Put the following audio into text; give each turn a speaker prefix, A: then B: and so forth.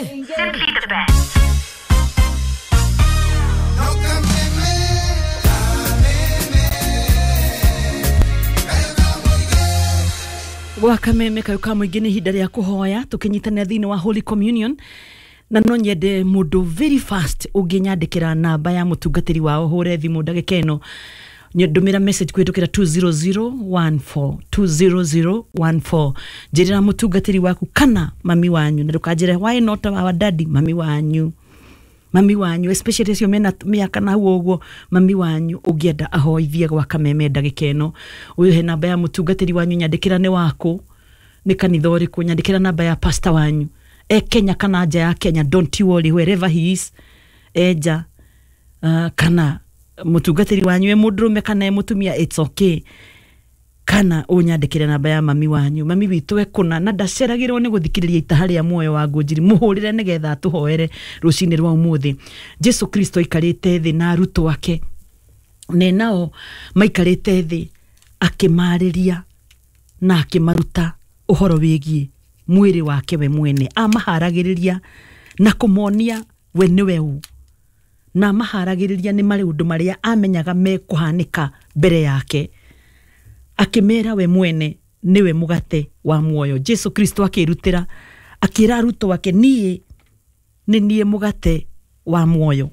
A: Simply the best.
B: Gwa kameme kayo ka mũingĩ nĩ ihinda rĩa kũhoya tũkĩnyitanĩra thĩinĩ wa Holy Communion, na no nyende mũndũ very fast ũngĩnyandĩkĩra namba ya mũtungatĩri wao hũre thimũ ndagĩka ĩno, ndũmĩra message kũhĩtũkĩra 20014 20014, njĩrĩra mũtungatĩri waku kana mami wanyu, na ndũkanjĩre why not our daddy, mami wanyu, mami wanyu especially acio mena mĩaka na hau ũguo, mami wanyu ũngĩenda ahoithie gwa kameme ndagĩka ĩno, ũyũ he namba ya mũtungatĩri wanyu, nyandĩkĩra nĩ wakũ, nĩ kanitha ũrĩkũ, nyandĩkĩra namba ya pastor wanyu e Kenya kana nja ya Kenya, don't you worry, wherever he is, e nja, kana mũtungatĩri wanyu e mũndũrũme kana e mũtumia, it's okay, kana ũnyandĩkĩre namba ya mami wanyu, mami witũ e kũna na ndaceragĩrwo nĩ gũthikĩrĩria itaha rĩa muoyo wa ngũnjiri, mũhũrĩre nĩgetha atũhoere rũcinĩ rwa ũmũthĩ. Jesu Kristo aikarĩte thĩ na arutwo ake, ne nao maikarĩte thĩ akĩmarĩria na akĩmaruta ũhoro wĩgiĩ mwĩrĩ wake we mwene, amaharagĩrĩria na kũmonia we nĩwe ũ, na amaharagĩrĩria nĩ maũndũ marĩa amenyaga mekũhanĩka mbere yake, akĩmera we mwene nĩwe mũgate wa muoyo. Jesu Kristo akĩrutĩra akĩra arutwo ake, niĩ nĩ niĩ mũgate wa muoyo.